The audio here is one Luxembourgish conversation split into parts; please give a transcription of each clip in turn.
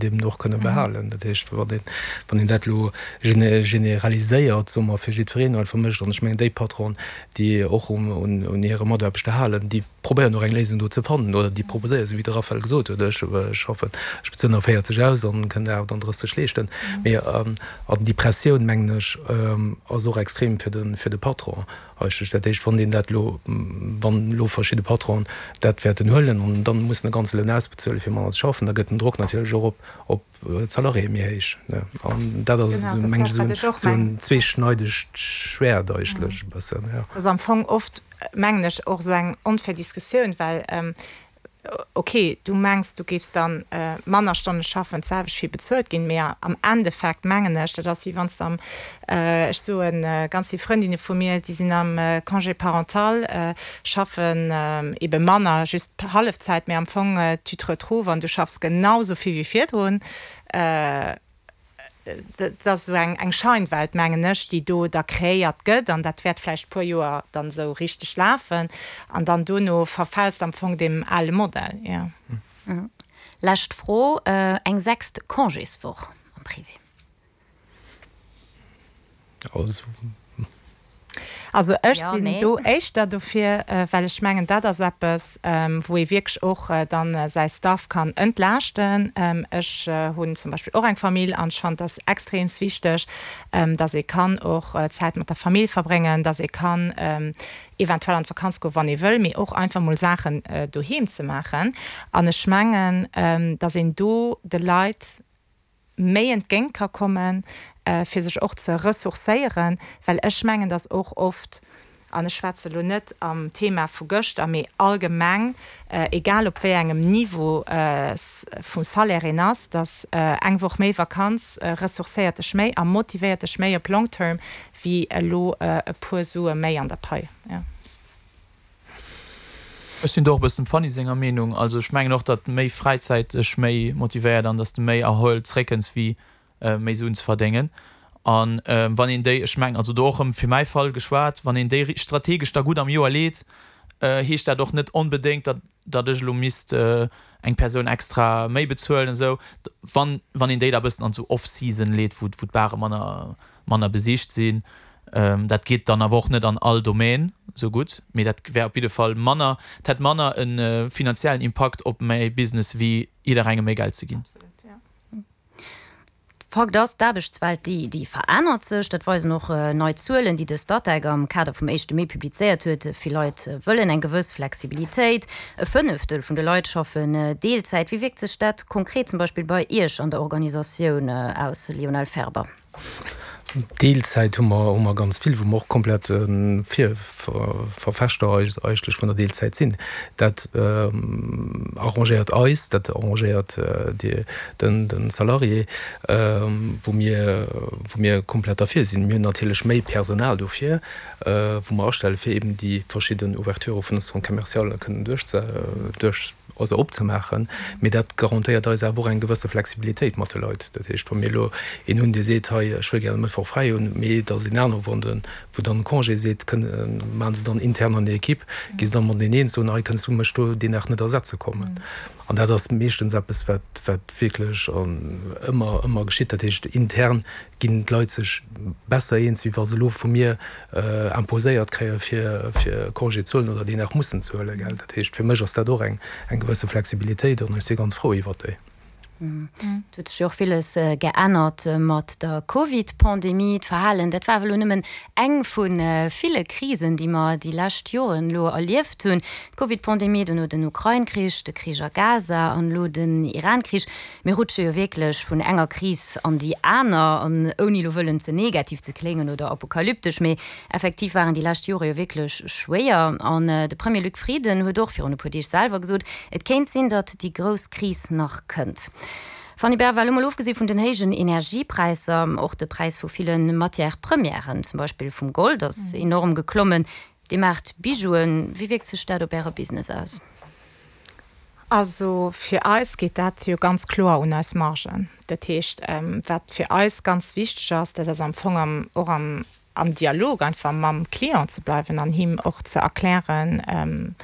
Eben och kënne behalen. Dat heescht, wann een, wann een dat elo generaliséiert, soe mer, fir jiddwereen einfach mécht, an ech mengen, déi Patronen, déi och un hire Mataarbechter halen, déi probéieren och eng Léisung do ze fannen oder déi proposéieren, esou wéi de Raphaël gesot huet, ech schaffen, ech bezuelen der 40 aus an kënn der 38 leeschten. Mee an déi Pressioun, mengen ech, ass och extrem fir de, fir de Patron. Eigentlech dat éischt, wann een dat elo, wann elo verschidde Patronen dat wäerten huelen an dann mussen e ganze Loun ausbezuelen, fir manner ze schaffen, da gëtt den Drock natierlech och op op d'Salariéë méi héich. An dat ass, mengen ech, esou en zweeschneidegt Schwäert eigentlech e bëssen. Dat ass am Fong oft, mengen ech, och esou eng onfair Diskussioun, well Ok, du mengs, du géifs dann manner Stonne schaffen, d'selwecht vill bezuelt ginn, mee am Endeffekt mengen ech, dat ass wéi wann s de am, ech soen, ganz vill Frëndinne vu mir, déi sinn am Congé parental, schaffen ebe manner, just Hallefzäit, mee am Fong tu te retrouves an du schaffs genau esou vill wéi virdrun. Dat ass esou eng Scheinwelt, mengen ech, déi do da kreéiert gëtt. An dat wäert vläicht e puer Joer dann esou richteg lafen. An dann dono verfäls de am Fong deem ale Modell, jo. Lescht Fro, Eng sechst Congéswoch am Privé? Also. Also ech sinn do éischter dofir, well ech mengen, dat ass eppes, wou ee wierklech och dann säi Staff kann entlaaschten. Ech hunn zum Beispill och eng Famill an ech fannen, et ass extreems wichteg, dass ee kann och Zäit mat der Famill verbréngen, dass ee kann eventuell an d'Vakanz goen, wann ee wëll, mee och einfach mol Saachen doheem ze maachen. An ech mengen, dass een do de Leit méi entgéint ka kommen, fir sech och ze ressourcéieren, well ech mengen, dass och oft, an ech schwätze elo net am Thema vu gëschter, mee allgemeng, egal op wéi engem Niveau vum Salaire een ass, dass eng Woch méi Vakanz ressourcéiert dech méi a motivéiert dech méi op long term wéi elo e puer Sue méi an der Pai. Ech sinn do och e bëssen dem Fanny senger Meenung. Also ech mengen och, datt méi Fräizäit dech méi motivéiert an datt s de méi erhuelt zréckkënns wéi méi Suen ze verdéngen. An wann een déi, ech mengen, also do och erëm fir mäi Fall geschwat, wann een déi strategesch da gutt am Joer leet, heescht dat och net onbedéngt, datt datt ech elo misst eng Persoun extra méi bezuelen esou. Wann wann een déi da e bëssen an esou Off-Season leet, wou wou d'Bare manner manner besicht sinn. Dat geet dann awer och net an all Domaine esou gutt, mee dat wär op jidde Fall manner, et hätt manner e finanziellen Impakt op mäi Business wéi jidderengem méi Geld ze ginn. Fakt ass, d'Aarbechtswelt, déi, déi verännert sech. Dat weisen och nei Zuelen, déi de Statec am Kader vum éischte Mee publizéiert huet. Vill Leit wëllen eng gewëss Flexibilitéit. E Fënneftel vun de Leit schaffen Deelzäit. Wéi wierkt sech dat konkret zum Beispill bei Iech an der Organisatioun aus, Lionel Ferber? Deelzäit hu mer, hu mer ganz vill, wou mer och komplett Vir Verfechter eigentlech vun der Deelzäit sinn. Dat arrangéiert eis, dat arrangéiert de de Salarié, wou mir, wou mir komplett derfir sinn. Mir hunn natierlech méi Personal dofir, wou mer astelle fir eben déi verschidden Ouverturë vun de Centres commercialen kënnen duerch duerch also opzemaachen, mee dat garantéiert eis awer och eng gewësse Flexibilitéit mat de Leit. Dat heescht, wa mir elo een hunn, dee seet, hei ech wëll gär e Mëttwoch fräi hunn, mee et ass een anere wou dann wou dann Congé seet, kënne maache se dann intern an der Equipe, gi se dann mateneen eens, soen, hei kënns du mech do deen Dag net ersetze kommen. An dat ass meeschtens eppes, wat wat wierklech ëmmer ëmmer geschitt. Dat heescht, intern ginn d'Leit sech besser eens, wéi wa se elo vu mir imposéiert kréie fir fir Congé ze huelen oder deen nach mussen ze huelen, gell. Dat heescht, fir mech ass dat och eng eng gewësse Flexibilitéit an ech si ganz frou iwwert déi. Et huet sech jo och villes geännert mat der Covid-Pandemie. D'Verhalen, dat war awer elo nëmmen eng vu ville Krisen, déi mer déi lescht Joren elo erlieft hunn. D'Covid-Pandemie, dono den Ukrain-Krich, de Krich a Gaza an elo den Iran-Krich. Mir rutsche jo wierklech vun enger Kris an déi aner, an ouni elo wëllen ze negativ ze kléngen oder apokalyptesch, mee effektiv waren déi lescht Jore jo wierklech schwéier. An de Premier Luc Frieden huet och virun e puer Deeg selwer gesot, et kéint sinn, datt déi grouss Kris nach kënnt. Fanny Berval, elo mol ofgesi vun den héijen Energiepräisser, och de Präis vu ville Matières premièren, zum Beispill vum Gold, ass enorm geklommen. Dir maacht Bijouen, wéi wierkt sech dat op Äre Business aus? Also fir eis geet dat jo ganz kloer un eis Margen. Dat heescht, wat fir eis ganz wichteg ass, dat ass am Fong am och am am Dialog einfach mam Client ze bleiwen an him och ze erklären,.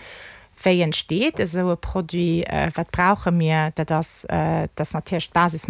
Wéi entsteet esou e Produit? Wat brauche mir? Dat ass, dat ass natierlech d'Basis.